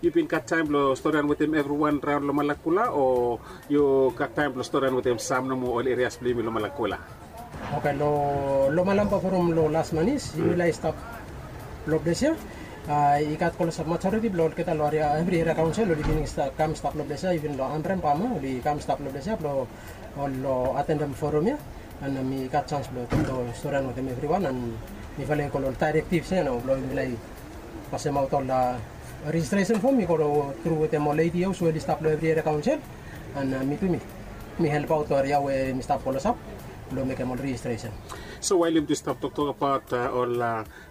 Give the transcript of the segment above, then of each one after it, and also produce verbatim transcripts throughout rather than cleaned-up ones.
Yu bin gat taem blong storian wetem evriwan raon long Malakula, o yu gat taem blong storian wetem sam nomo ol erias blong yumi long Malakula? Oke, long Malamba forum long las manis yumi lae stap long ples ya. I gat klosap majoriti blong olgeta long evri eria kaonsel oli bin kam stap long ples ya, even long Ambrem Pama oli kam stap long ples ya blong ol long atendem forum ya. An mi gat sans blong toktok storian wetem evriwan an mifala i go long ol daerektivs ya nao blong yumi lae pasemaot ol rejistresen fom i go tru wetem ol ADOs we oli stap long evri eria kaonsel. An mi tu mi mi helpaot ol eria we mi stap klosap blong mekem ol rejistresen. So wael yumi tu stap toktok abaot ol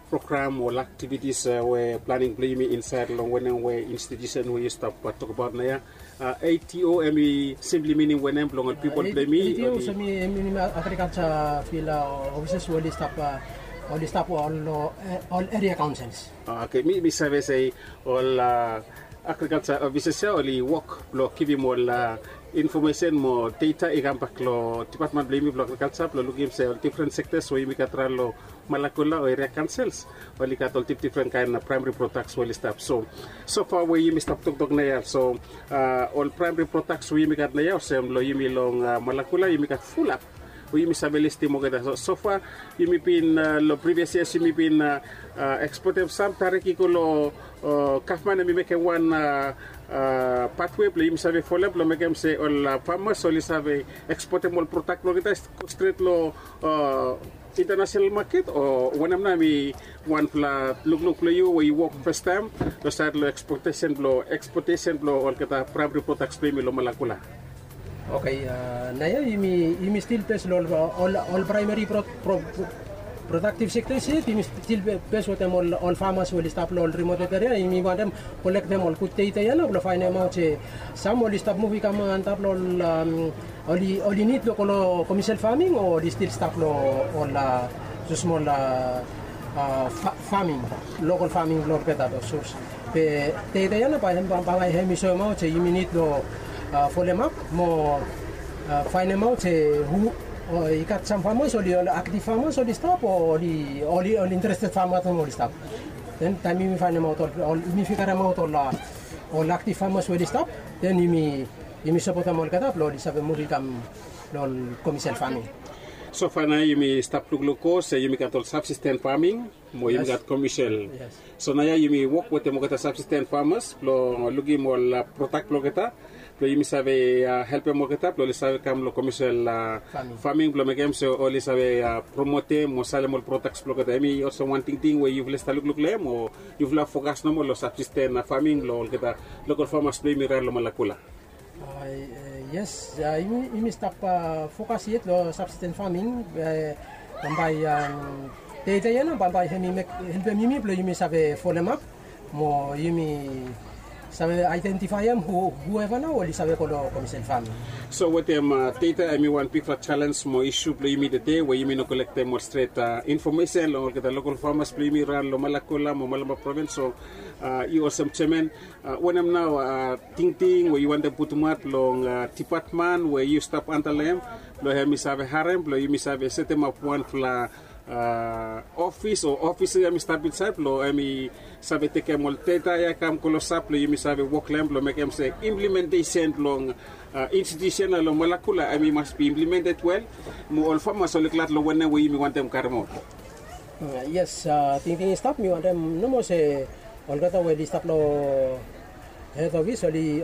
program o ol aktivitis we planing blong yumi insaed long wanem we institusen we yu stap tokbaot naoia? ADO hemi simpli minim wanem blong ol pipol blong yumi? ADO hemi minim agrikalja fil ofises we oli stap ol eria kaonsels. Oke, mi save se ol agrikalja ofises ya oli wok blong givim ol infomesen mo data i kambak long dipatmen blong yumi blong agrikalja blong lukim se ol difren sektas we yumi gat raon long Malakula o eria kaonsels oli gat ol difdifren kaen praemari prodaks we oli stap. So sofa we yumi stap toktok naoia, so ol praemari prodaks we yumi gat naoia olsem long yumi long Malakula yumi gat fulap we yumi save listim olgeta. So sofa yumi bin long privias yias yumi bin ekspotem sam tarik i go long gavman hemi mekem wan patwe blong yumi save folem blong mekem se ol famas oli save ekspotem ol prodak blong olgeta i go stret long intanasenal maket, o wanem nao hemi wanfala lukluk blong yu we yu wok fastaem long saed long ekspotesen blong olgeta praemari prodaks blong yumi long Malakula? Oke, naoia yumi stil bes long ol praemari prodaktiv sektas yet, yumi stil bes wetem ol famas we oli stap long ol rimoted eria. Yumi wantem kolektem ol gud data ya nao blong faenemaot se sam oli stap muv i kam antap long ol oli nid blong go long komesil faming o oli stil stap long ol smosmol faming, lokal faming blong olgeta. Be data ya nao bae hemi soemaot se yumi nid long folemap mo faenemaot se hu i gat sam famas oli ol aktiv famas oli stap o oli interested famas oli stap. Den taem yumi faenemaot ol yumi figaremaot ol aktiv famas we oli stap, den yumi sapotem olgeta blong oli save muv i kam long ol komesil faming. Sofa nao yumi stap lukluk go se yumi gat ol sabsisten faming mo yumi gat komesil. So naoia yumi wok wetem olgeta sabsisten famas blong lukim ol prodak blong olgeta blong yumi save helpem olgeta blong oli save kam long komesil faming blong mekem se oli save promotem mo salem ol prodaks blong olgeta. Hemi olsem wan tingting we yufala i stap lukluk long hem o yufala fokas nomo long sabsisten faming long olgeta lokal famas blong yumi raon long Malakula? Yes, yumi stap fokas yet long sabsisten faming. Bambae data ya nao bambae hemi helpem yumi blong yumi save folemap mo yumi save aedentifaem hueva nao oli save go long komesil faming. So wetem data hemi wan bigfala jalens mo isu blong yumi tede we yumi no kolektem ol stret infomesen long olgeta lokal famas blong yumi raon long Malakula mo Malampa provins. So yu olsem jeaman, wanem nao tingting we yu wantem putumaot long dipatmen we yu stap antap long hem blong hemi save harem blong yumi save setemap wanfala ofis o ofis ya hemi stap insaed blong hemi save tekem ol data ya i kam klosap blong yumi save wok long hem blong mekem se implimentesen blong institusen ya long Malakula hemi mas bi implimented wel mo ol famas oli glad long wanem we yumi wantem karemaot. Yes, tingting i stap mi wantem nomo se olgeta we oli stap long hed ofis oli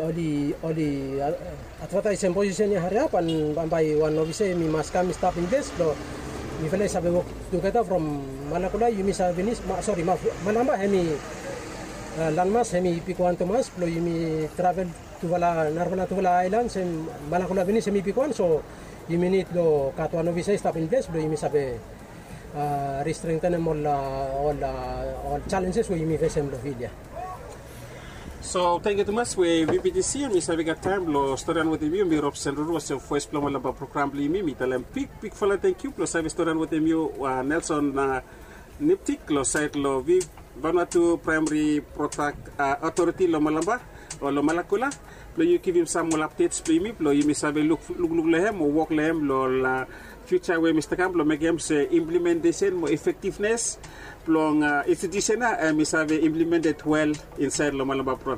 advataesem posisen ya hariap an bambae wan ofisa hemi mas kam i stap in ples blong mifala i save wok tugeta from Malakula yumi save pinis, sori, Malampa hemi landmas hemi bigwan tumas blong yumi travel tufala narafala tufala aelans hem. Malakula pinis hemi bigwan, so yumi nid long gat wan ofisa i stap in ples blong yumi save ristrengtenem ol ol jalenjes we yumi fesem long fil ya. So tangkiu tumas we VBTC hemi save gat taem blong storian wetem yu. Mi Robson Ruru olsem voes blong Malampa program blong yumi. Mi talem bigbigfala tangkiu blong save storian wetem yu, Nelson Niptik long saed long Vanuatu Praemari Prodak Otoriti long Malampa o long Malakula blong yu givim sam ol apdets blong yumi blong yumi save lukluk long hem o wok long hem long ol fiuja we mi stap kam blong mekem se implimentesen mo efektivnes blong institusen ya hemi save implimented wel insaed long Malampa.